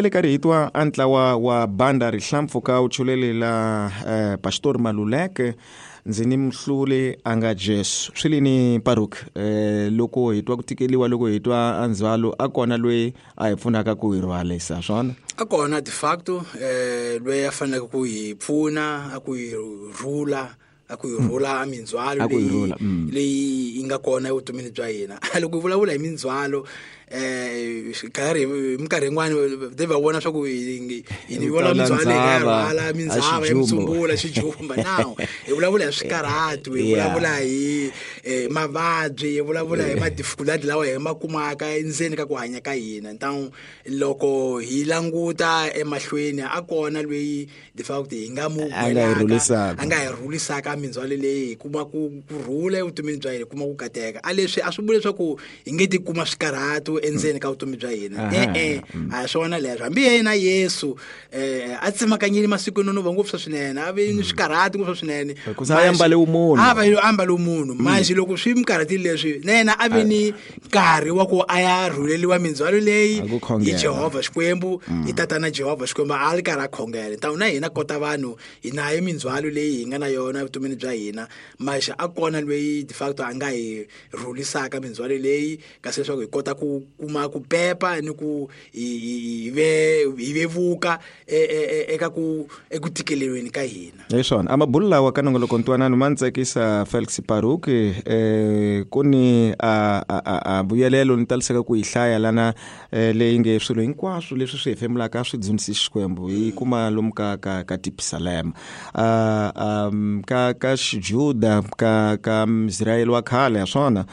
hi le karhi hi twa a ntlawa wa banda Rihlampfuka wu chulelela Pastor Maluleke ndzi ni muhluli a nga Jesu. Swi li ni Paruk loko hi twa ku tikeliwa, loko hi twa a ndzhwalo, a kona loyi a hi pfunaka ku hi rhwalisa swona? A kona de facto loyi a faneleke ku hi pfuna, a ku hi rhula, a ku hi rhula a mindzhwalo A ku hi rhula, leyi yi nga kona evutomini bya hina. Loko hi vulavula hi mindzhwalo, nkarhi minkarhi yin'wani de va vona swa ku hi Hi vona tala mindzhwalo hi nga ndzhava, rhwala a mindzhava ya xijumba. mitsumbula, xijumba. Now hi vulavula hi swikarhatu, hi vulavula hi mavabyi, hi vulavula hi ma-difficulty lawa hi ma kumaka endzeni ka ku hanya ka hina. Ntangu loko hi languta emahlweni, a kona loyi de facto hi nga mu A nga hi gwelaka, rhulisaka. a nga hi rhulisaka mindzhwalo leyi, hi kuma ku rhula evutomini bya hina, hi kuma ku kateka. A leswi a swi vuli leswaku hi nge ti kuma swikarhatu endzeni ka vutomi bya hina. E-e, a hi swona leswo. Hambi yena Yesu a tsemakanyile masiku yo nonova ngopfu swinene, a ve ni swikarhatu ngopfu swinene. Hikuva a ambale vumunhu. A va ambale vumunhu. Manje loko swi mi karhatile leswi, na yena a ve ni nkarhi wa ku a ya rhuleliwa mindzhwalo leyi A ku khongela. hi Jehovha Xikwembu, hi Tatana Jehovha Xikwembu, a ri karhi a khongela. Ntangu na hina kota vanhu hi nayo mindzhwalo leyi hi nga na yona evutomini bya hina, maxa a kona loyi de facto a nga hi rhulisaka mindzhwalo leyi, kasi leswaku hi kota ku kuma ku pepa ni ku hi vevuka eka ku eku tikeleriweni ka hina. Hi swona a mabulu lawa ka nongoloko ntwanano ma ni tsakisa Felix Paruk, ku ni a vuyelelo ni taliseka ku yi hlaya lana, leyi nge swilo hinkwaswo leswi swi hefemulaka swi dzunisi Xikwembu, hi kuma lomu ka Tipisalema. Ka Xijuda, ka Israyele wa khale, ha swona.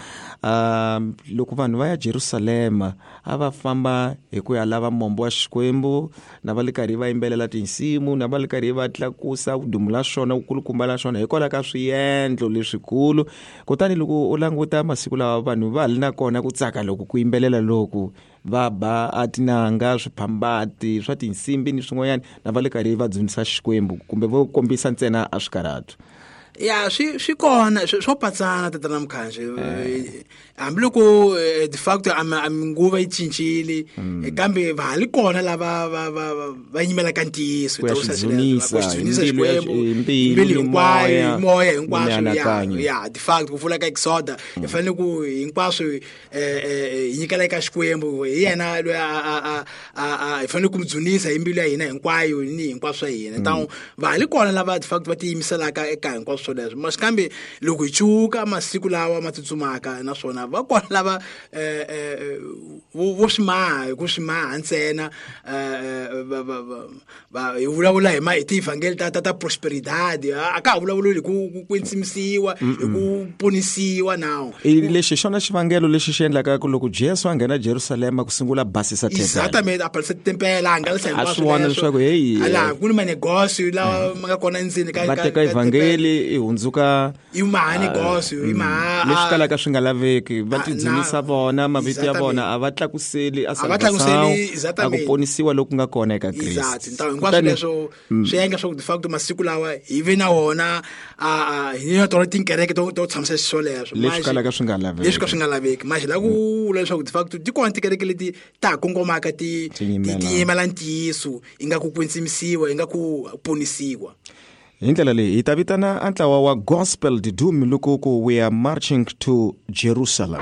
Loko vanhu va ya Jerusalema a va famba hi ku ya lava mombo wa Xikwembu, na va le karhi va yimbelela tinsimu, na va le karhi va tlakusa vudumo la xona, vukulukumba la xona, hikwalaho ka swiendlo leswikulu. Kutani loko u languta masiku lawa, vanhu va ha ri na kona ku tsaka loko ku yimbelela loku, va ba a tinanga, swiphambati swa tinsimbi ni swin'wanyana, na va le karhi va dzunisa Xikwembu kumbe vo kombisa ntsena a swikarhatu. Ya, swi kona, swo patsana Tatana Mkhanji. Hambiloko de facto a minguva yi cincile, kambe va ha li kona lava va yimelaka ntiyiso, Ku ya ta vusa xi swileswo, dzunisa, ku xi dzunisa hi mbilu ya Xikwembu, hi mbilu mbilu ni hinkwayo, moya, hi moya ni hinkwaswo, mianakanyo. ya, de facto ku vula ka Exoda, hi fanele ku hinkwaswo, hi nyikela eka Xikwembu, hi yena loyi hi fanele ku n'wi dzunisa hi mbilu ya hina hinkwayo ni hinkwaswo swa hina. Ntangu va ha li kona lava de facto va tiyimiselaka eka hinkwaswo swoleswo. Masi kambe loko hi cuka masiku lawa ma tsutsumaka, naswona va kona lava vo swi maha hi ku swi maha ntsena, hi vulavula hi tievhangeli ta prosperidad, a ka ha vulavuli hi ku kwetsimisiwa, hi ku ponisiwa nawu. I lexi hi xona xivangelo lexi xi endlaka ku loko Jesu a nghena Jerusalema ku sungula basisa tempele. Exactamente, a basisa tempele, a hangalasa A hinkwaswo swi vona leswo. leswaku, hey, A laha ku ni manegosio lawa ma nga kona endzeni va teka ka evhangeli tempele. i hundzuka I maha negosio, i maha, leswi kalaka swi nga laveki, va tidzunisa vona, mavito ya vona Exactamente. a va tlakuseli a A va tlakuseli, salvação, a ku exactamente. ponisiwa loku nga kona eka Kriste. Exactly. Ntangu hinkwaswo Kutani leswo swi endla swa ku de facto masiku lawa hi ve na wona, hi na tona tinkereke to tshamisa xiswoleswo. Leswi Manje kalaka swi nga laveki. Leswi ka swi nga laveki. Manje la ku vula leswaku de facto ti kona tikereke leti ta ha kongomaka Ti yimela. ti yimela ntiyiso, yi nga ku kwetsimisiwa, yi nga ku ponisiwa. Hi ndlela leyi hi ta vitana a ntlawa wa Gospel Didumi loko ku we are marching to Jerusalem.